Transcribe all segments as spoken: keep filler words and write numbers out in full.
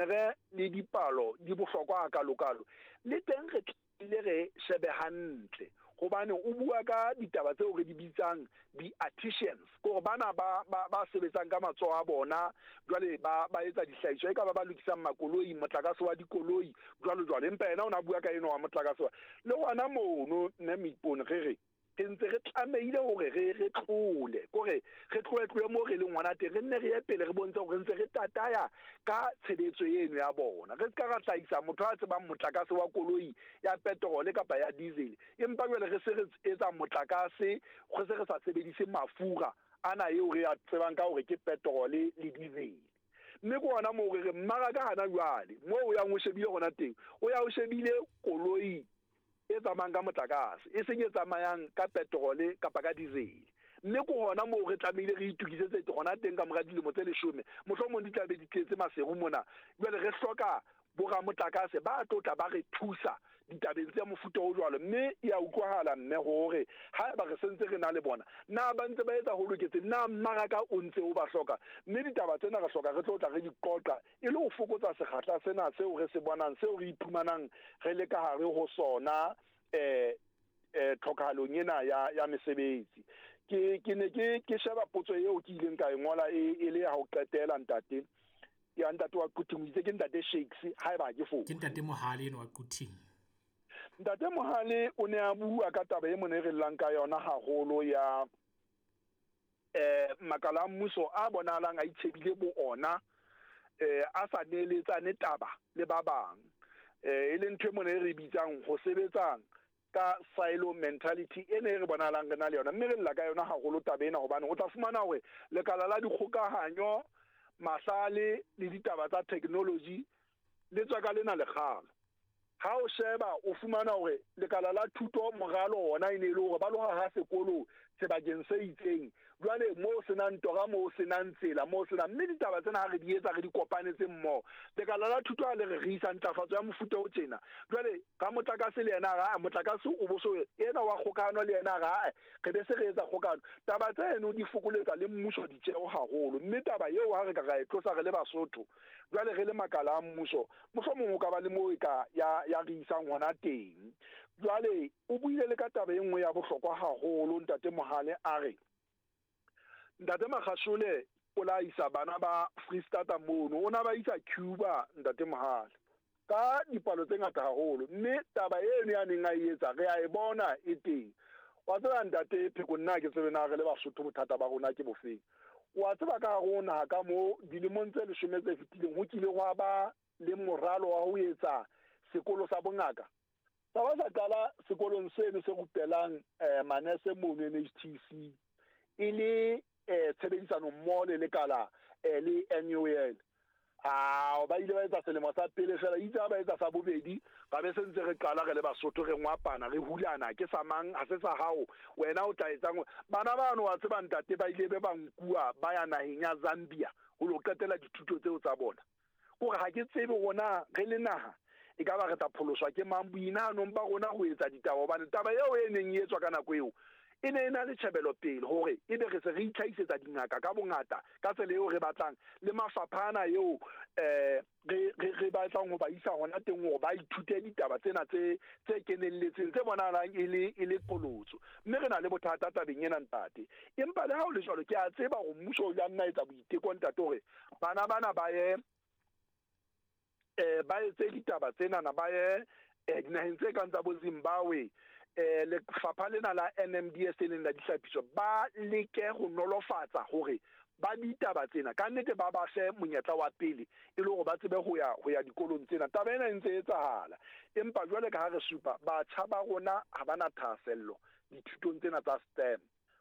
Re le dipalo di bohlokwa hakalokalo, le teng re tlile re shebe hantle, hobane o bua ka ditaba tseo re di bitsang di-artisans, kore bana ba ba ba sebetsang ka matsoho a bona, jwale ba ba etsa dihlahiswa, e ka ba ba lokisang makoloi, motlakase wa dikoloi, jwalo jwalo. Empa yena o na bua ka eno wa motlakase wa le hona mono. Mme Moipone, re re re ntse re tlamehile hore re re tlole, kore re tlohe tlohe moo re leng hona teng, re nne re ye pele, re bontshe hore re ntse re tataya ka tshebetso eno ya bona. Re ska ra hlahisa motho a tsebang motlakase wa koloi ya petrol kapa ya diesel, empa jwale re se re etsa motlakase, re se re sa sebedise mafura ana eo re a tsebang ka hore ke petrol le diesel. Mme ke hona moo re re mmaraka hana jwale moo o yang o shebile hona teng, o ya o shebile koloi e tsamayang ka motlakase, e seng e tsamayang ka petrol kapa ka diesel. Mme ke hona moo re tlamehile re itokisetse hona teng. Ka mora dilemo tse leshome, mohlomong di tla be di tletse maseru mona, jwale re hloka boramotlakase ba tlo tla ba re thusa ditabeng tse mofuta o jwalo. Mme e a utlwahala, mme hore haeba re sentse re na le bona, na ba ntse ba etsa ho loketseng, na mmaraka o ntse o ba hloka? Mme ditaba tsena re hloka re tlo tla re di qoqa e le ho fokotsa sekgahla sena seo re se bonang, seo re iphumanang re le ka hare ho sona, eh eh tlhokahalong ena ya ya mesebetsi. ke ke ne ke ke sheba potso eo ke ileng ka e ngola e e le ya ho qetela, ntate ya ntate wa Quthing, o itse ke ntate Shakes, haeba ke fo Ke ntate Mohale eno wa Quthing. Ntate Mohale o ne a bua ka taba e mone re llang ka yona haholo ya eh makala a mmuso a bonahalang a itshebile bo ona, eh a sa neeletsane taba le ba bang, eh e leng ntho e mone e re bitsang ho sebetsang ka silo mentality ene e re bonahalang re na le yona. Mme re lla ka yona haholo taba ena, hobane o tla fumana hore lekala la dikgokahanyo, mahlale le ditaba tsa technology le tswa ka lena lekgalo. Ha o sheba, o fumana hore lekala la thuto, moralo ona e ne e le hore ba lo haha sekolo sebakeng se itseng, jwale moo senang tora, moo senang tsela, moo senang. Mme ditaba tsena ha re di etsa, re di kopanetse mmoho, lekala la thuto ha le re re isa ntlafatso ya mofuta o tjena, jwale ka motlakase le yena a re motlakase o bo so ena wa kgokahano le yena a re re be se re etsa kgokahano. Taba tseno di fokoletsa le mmuso ditjeho haholo. Mme taba eo ha re ka ra e tlosa re le Basotho, jwale re le makala a mmuso, mohlomong o ka ba le moo e ka ya ya re isang hona teng. Jwale o buile le ka taba e nngwe ya bohlokwa haholo, ntate Mohale, a re ntate Makgashole o la isa bana ba Freestata mono, o na ba isa Cuba, ntate Mohale, ka dipalo tse ngata haholo. Mme taba eno ya neng a e etsa, re a e bona e teng. Wa tseba, ntate Pheko, nna ke tsebe na re le Basotho bothata ba rona ke bofeng. Wa tseba, ka hare ho naha ka mo, dilemong tse leshome tse fetileng, ho kile hwa ba le moralo wa ho etsa sekolo sa bongaka, sa ba sa qala sekolong seno se rupelang eh, manese mono N H T C, e le eh, tshebedisano mmoho le lekala eh, le N U L. Ao, ba ile ba etsa selemo sa pele fela, itse ha ba etsa sa bobedi, ba be se ntse re qala re le Basotho re ngwapana, re hulana, ke sa mang, ha se sa hao, wena o tla etsang? Bana bano, wa tseba, ntate, ba ile be ba nkuwa ba ya naheng ya Zambia ho lo qetela dithuto tseo tsa bona. Kore ha ke tsebe rona re le naha e ka ba re tla pholoswa ke mang boinahanong ba rona ho etsa ditaba, hobane taba eo e neng e etswa ka nako eo e ne e na le tjhebelo pele hore ebe re se re itlhahisetsa dingaka ka bongata ka tsela eo re batlang, le mafapha ana eo eh re re re batlang ho ba isa hona teng hore ba ithute ditaba tsena tse tse kenelletseng, tse bonahalang e le e le qholotso. Mme re na le bothata tabeng ena, ntate. Empa le ha ho le jwalo, ke a tseba hore mmuso o ile nna etsa boiteko, ntate, hore bana bana ba ye eh ba etse ditaba tsenana, ba ye eh, dinaheng tse kang tsa bo Zimbabwe. eh lefapha lena la N M D S e leng la dihlapiso, ba leke ho nolofatsa hore ba ditaba tsena ka nnete ba ba fe monyetla wa pele e le hore ba tsebe ho ya ho ya dikolong tsena. Taba ena e ntse e etsahala, empa jwale ka ha re supa, batjha ba rona ha ba na thahasello dithutong tsena tsa STEM,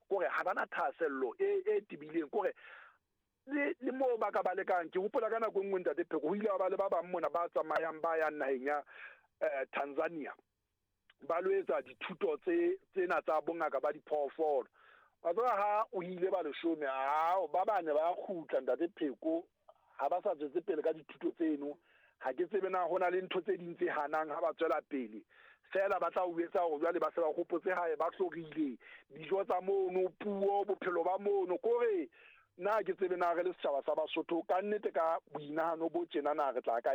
kore ha ba na thahasello e e tebileng, kore le le moo ba ka ba lekang. Ke hopola ka nako e nngwe, ntate Pheko, ho ile ba le ba bang mona ba tsamayang ba yang naheng ya eh, Tanzania ba lo etsa dithuto tse tsena tsa bongaka ba diphoofolo. Wa tseba, ha o ile ba leshome, ao ba bane ba kgutla, ntate Pheko, ha ba sa tswetse pele ka dithuto tseno. Ha ke tsebe na hona le ntho tse ding tse hanang ha ba tswela pele fela, ba tla o etsa hore jwale ba se ba hopotse hae, ba hlorile dijo tsa mono, puo, bophelo ba mono. Kore nna ke tsebe na re le setjhaba sa Basotho ka nnete ka boinahano bo tjena na re tla ka